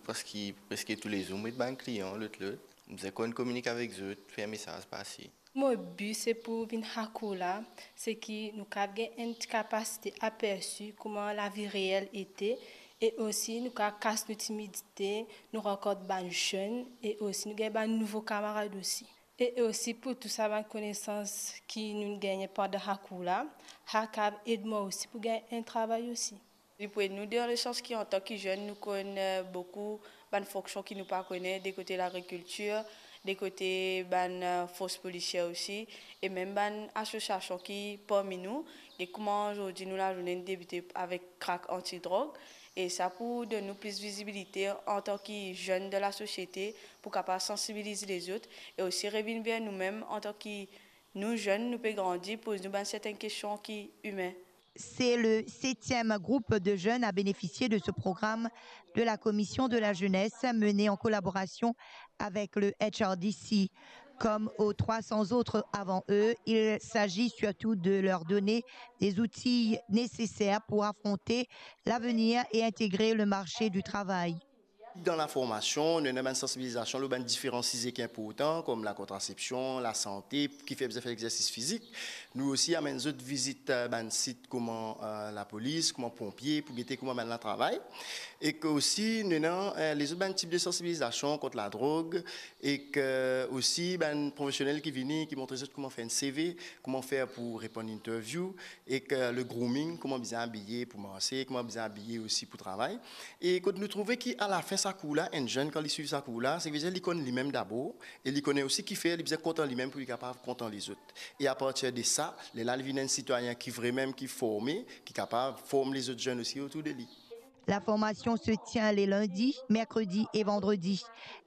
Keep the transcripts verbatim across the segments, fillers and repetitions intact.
Parski preske toulezour mo met bann klian lot lot, mo bizin konn kominik avek zot, fer mesaz pase. Mo bi se pou vinn Hakoula, se ki nou kav gagn enn ti kapasite apersi kouma lavi reel ete, e osi nou kav kas nou timidite, nou rankont bann zenn, e osi nou gagn bann nouvo kamarad osi. E osi pou tou sa bann konesans ki nou gagne pandan Hakoula, sa kav ed mwa osi pou gagn enn travay osi. Li pou ed nou dan lesans ki antan ki zenn nou konn, eh, boukou bann fonksion ki nou pa kone, de kote lagrikiltir, de kote bann, eh, fors polisier osi, e mem bann asosiasion ki parmi nou, e kouma zordi nou lazourne inn debite avek krak antidrog, e sa pou donn nou plis vizibilite antan ki zenn dan lasosiete, pou kapav sansibiliz lezot, e osi revinn ver noumem antan ki nou zenn, nou pe grandi, poz nou bann sertenn kestion ki imin. C'est le septième groupe de jeunes à bénéficier de ce programme de la Commission de la Jeunesse mené en collaboration avec le H R D C. Comme aux trois cents autres avant eux, il s'agit surtout de leur donner des outils nécessaires pour affronter l'avenir et intégrer le marché du travail. Dan laformasion, nou ena bann sansibilizasion lor bann diferan size ki inportan, kom lakontrasepsion, lasante, kifer bizin fer exersis fizik. Nou osi amenn zot vizit, eh, bann sit kouma, eh, lapolis, kouma ponpie, pou gete kouma bann la travay. E ke osi, nou ena, eh, lezot bann tip de sansibilizasion kont ladrog, e ke osi bann profesionel ki vini, ki montre zot kouma fer enn C V, kouma fer pou reponn interview, ek, eh, le grooming, kouma bizin abiye pou marse, kouma bizin abiye osi pou travay. E kot nou trouve ki alafin sa kour la, enn zenn kan li swiv sa kour la, sa vedir li konn limem dabor, e li kone osi kifer li bizin kontan limem pou li kapav kontan lezot. E apartir de sa, lerla li vinn enn sitwayin ki vremem ki forme, ki kapav form lezot zenn osi otour de li. La formation se tient les lundis, mercredis et vendredis.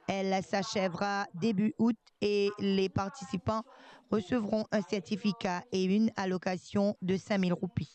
Elle s'achèvera début août et les participants recevront un certificat et une allocation de cinq mille roupies.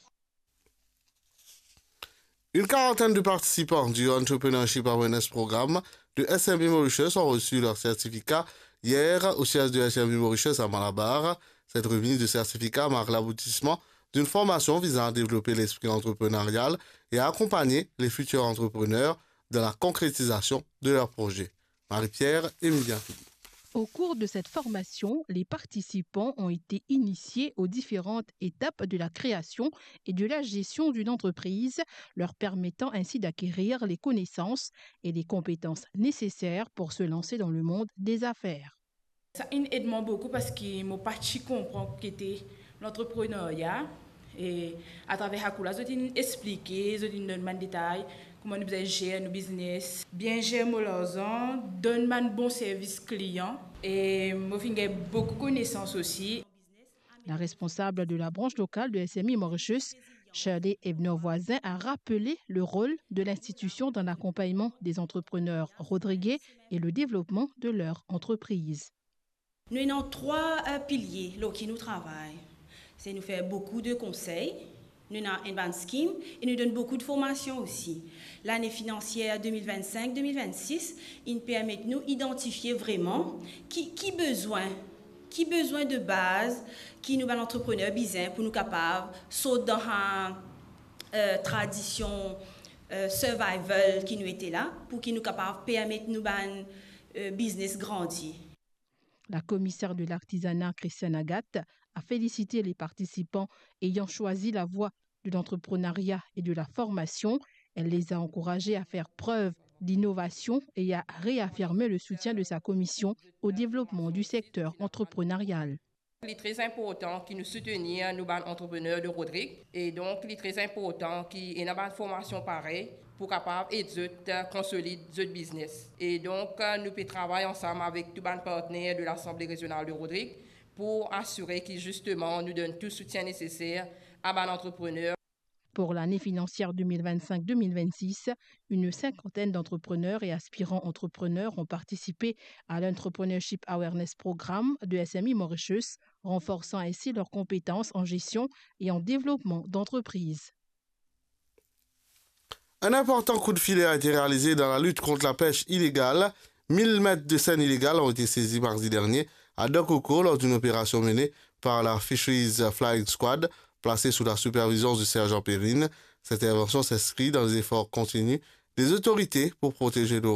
Une quarantaine de participants du Entrepreneurship Awareness Programme de S M E Mauritius ont reçu leur certificat hier au siège de S M E Mauritius à Malabar. Cette remise de certificat marque l'aboutissement d'une formation visant à développer l'esprit entrepreneurial et à accompagner les futurs entrepreneurs dans la concrétisation de leurs projets. Marie-Pierre, Emilien Philippe. Au cours de cette formation, les participants ont été initiés aux différentes étapes de la création et de la gestion d'une entreprise, leur permettant ainsi d'acquérir les connaissances et les compétences nécessaires pour se lancer dans le monde des affaires. Sa inn ed mwa boukou parski mo pa ti konpran ki ete lantreprenerya. E atraver sa kour la, zot inn explike, zot inn donn bann detay, kouma nou bizin zer nou biznes, bien zer mo larzan, donn bann bon servis klian. E mo finn gagn boukou konesans osi. La responsable de la branche locale de S M E Mauritius, Shirley Ebner-Voisin, a rappelé le rôle de l'institution dans l'accompagnement des entrepreneurs rodriguais et le développement de leur entreprise. Nou ena trwa, eh, pilie lor ki nou travay. Se nou fer boukou de konsey, nou ena enn bann skim e nou donn boukou de formasion osi. Lane finansier de mil vennsenk, de mil vennsis inn permet nou idantifie vreman ki, ki bezwin, ki bezwin de baz ki nou bann antreprener bizin pou nou kapav sort dan sa, eh, tradision, eh, survival ki nou ete la, pou ki nou kapav permet nou bann, eh, biznes grandi. La commissaire de l'artisanat, Christiane Agathe, a félicité les participants ayant choisi la voie de l'entrepreneuriat et de la formation. Elle les a encouragés à faire preuve d'innovation et a réaffirmé le soutien de sa commission au développement du secteur entrepreneurial. Li tre inportan ki nou soutenir nou bann antreprener de Rodrig, e donk li tre inportan ki ena bann formasion parey pou kapav ed zot, eh, konsolid zot biznes. E donk, eh, nou pe travay ansam avek tou bann partner de Lasanble Rezional de Rodrig pou asire ki zisteman nou donn tou soutien neseser a bann antreprener. Pour l'année financière deux mille vingt-cinq deux mille vingt-six, une cinquantaine d'entrepreneurs et aspirants entrepreneurs ont participé à l'Entrepreneurship Awareness Programme de S M E Mauritius, renforçant ainsi leurs compétences en gestion et en développement d'entreprise. Un important coup de filet a été réalisé dans la lutte contre la pêche illégale. Mille mètres de seine illégale ont été saisis mardi dernier à Dokoko lors d'une opération menée par la Fisheries Flying Squad, placée sous la supervision du sergent Perrine. Cette intervention s'inscrit dans les efforts continus des autorités pour protéger nos